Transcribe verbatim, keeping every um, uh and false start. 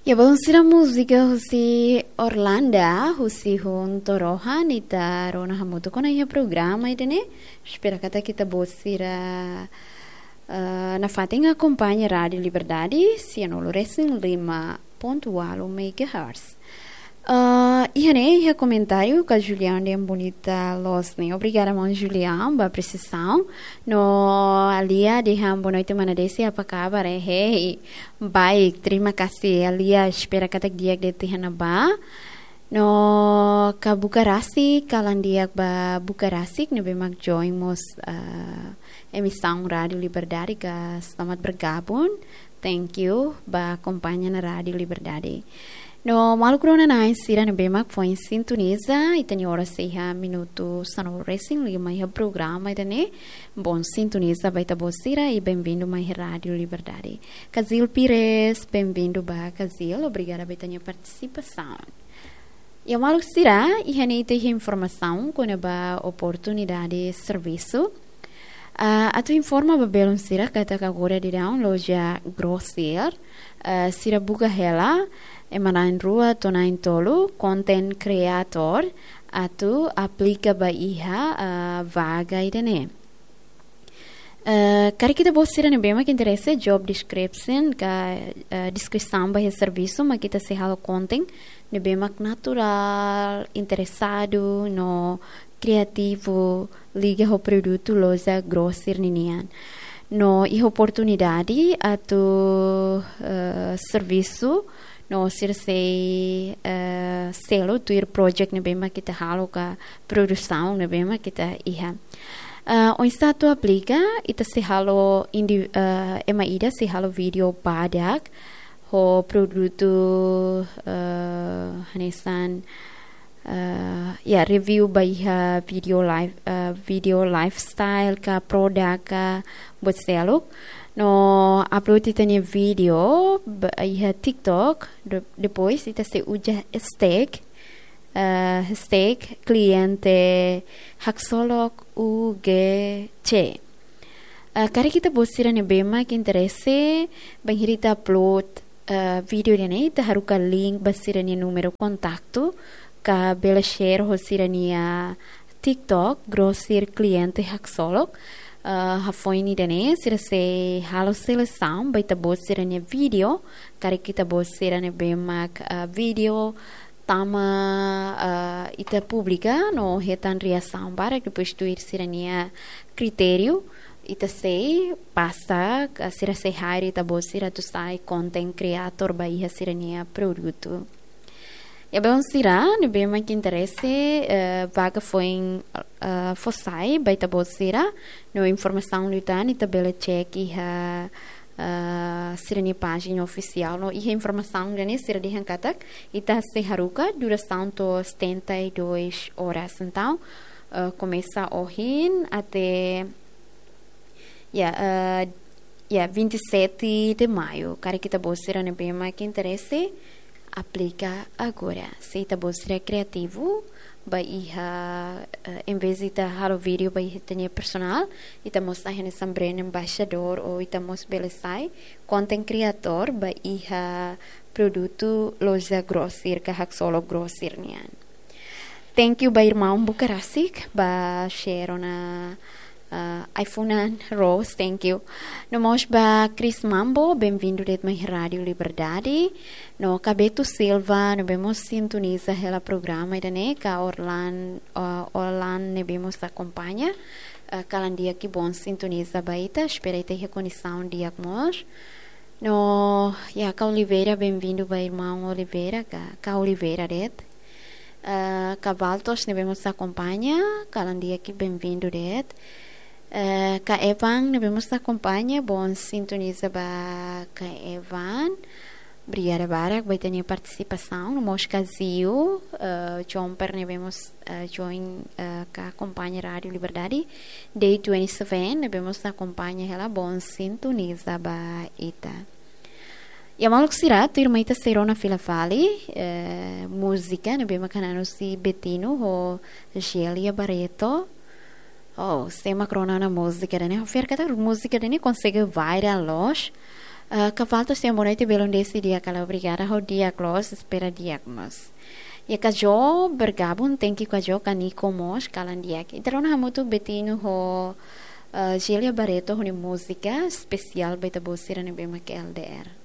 Ya, belun sira, múzika husi Orlanda, husi Hun Torohan, ita rona hamutuk ona iha programa ida-ne'e. Espera katak ita-boot sira, eh, nafatin akompaña Rádiu Liberdade, sianulu resin lima pontu ualu megahertz. Eh, iha ne'e, iha komentáriu ka Julian dehan bonita loos ne'e. Obrigada, maun Julian, ba apresiasaun. No Alia dehan boa noite, mana Desi, apa kabar? Eh, hei, baik, terima kasih, Alia. Espera katak di'ak de'it iha ne'ebá. No ka buka rasik, kalan di'ak ba buka rasik, ne'ebé mak join mós, eh, emisaun Rádiu Liberdade, ka selamat bergabung. Thank you ba akompaña ona Rádiu Liberdade. No maluk rona-na'in sira ne'ebé mak foin sintoniza, ita-nia oras iha minutu sanulu resin lima iha programa ida-ne'e. Bom sintonia ba ita-boot sira i bem-vindo mai Rádiu Liberdade. Kazil Pires, bem-vindo ba Kazil, obrigada ba ita-nia partisipasaun. Ya, maluk sira, iha ne'e ita iha informasaun kona-ba oportunidade servisu. Ah, atu informa ba belun sira katak agora daudaun loja Grosir, ah, sira buka hela ema na'in-rua to'o na'in-tolu, content creator, atu aplika ba iha, ah, vaga ida-ne'e. Eh, karik ita-boot sira ne'ebé mak interese, job description ka, eh, deskrisaun ba iha servisu mak ita sei halo content ne'ebé mak naturál, interesadu no kriativu liga ho produtu loja Grosir ninian. No iha oportunidade atu, eh, servisu no sira sei, eh, selu tuir project ne'ebé mak ita halo ka produsaun ne'ebé mak ita iha. Eh, oinsá atu aplika, ita sei halo indi-, eh, ema ida sei halo vídeo badak ho produtu, eh, hanesan, eh, ya, review ba iha video life, eh, video lifestyle ka produk ka buat seluk. No upload ita-nia vídeo ba iha TikTok. De-, depois ita sei uza hashtag, eh, hashtag kliente haksolok U G C. Eh, karik ita-boot sira ne'ebé mak interese, bainhira ita upload, eh, vídeo ida-ne'e, ita haruka link ba sira-nia númeru kontaktu, ka bele share ho sira-nia TikTok, Grosir Kliente Haksolok. Eh, hafoin ida-ne'e, sira sei halo selesaun ba ita-boot sira-nia vídeo, karik ita-boot sira ne'ebé mak, eh, vídeo tama, eh, ita publika no hetan reasaun barak, depois tuir sira-nia kritériu, ita sei pasa, ka sira sei hire ita-boot sira atu sai content creator ba iha sira-nia produtu. Ya, belun sira ne'ebé mak interese, eh, vaga foin, eh, fó sai ba ita-boot sira, no informasaun liután ita bele check iha, eh, sira-nia pájina ofisiál. No iha informasaun ida-ne'e sira dehan katak ita sei haruka durasaun to'o setenta e dois horas. Entaun, eh, komesa ohin até, ya, eh, ya, vinte e sete de maio. Karik ita-boot sira ne'ebé mak interese, aplika agora. Se ita-boot sira kriativu, ba iha, eh, em vez de ita halo vídeo ba iha ita-nia personal, ita mós sai hanesan brand ambassador ou ita mós bele sai content creator ba iha produtu loja Grosir ka Haksolok Grosir nian. Thank you ba irmaun buka rasik ba share ona, ah, ai-funan, Rose, thank you. No mós ba Chris Mambo, bem-vindo de'it mai Rádiu Liberdade. No ka Beto Silva, ne'ebé mós sintoniza hela programa ida-ne'e, ka Orlan, ah, Orlan ne'ebé mós akompaña. Ah, kalan di'ak, bom sintoniza ba ita, espera ita iha kondisaun di'ak mós. No, ya, ka Oliveira, bem-vindo ba irmaun Oliveira, ka, ka Oliveira de'it. Ah, ka Valtos ne'ebé mós akompaña, kalan di'ak, bem-vindo de'it. Ah, ka Evan ne'ebé mós akompaña, bom sintoniza ba ka Evan. Obrigada barak ba ita-nia partisipasaun. No mós ka Zio, ah, Jomper ne'ebé mós, ah, join, ah, ka akompaña Rádiu Liberdade. Day twenty-seven, ne'ebé mós akompaña hela, bom sintoniza ba ita. Ya, maluk sira, tuirmai ita sei rona fila fali, eh, múzika ne'ebé mak hananu husi Betino ho Gelia Barreto. Oh, sé mak rona ona múzika ida-ne'e? Ha'u fiar katak múzika ida-ne'e konsege viral loos. Ah, ka falta sira morai te belun desi di'ak kala obrigada, ha'u di'ak loos, espera di'ak mós. Ya Kajo bergabung, thank you Kajo, Kaniko mós, kalan di'ak. Ita rona hamutuk Betino ho, ah, Gelia Barreto ho nia múzika espesiál ba ita-boot sira ne'ebé mak L D R.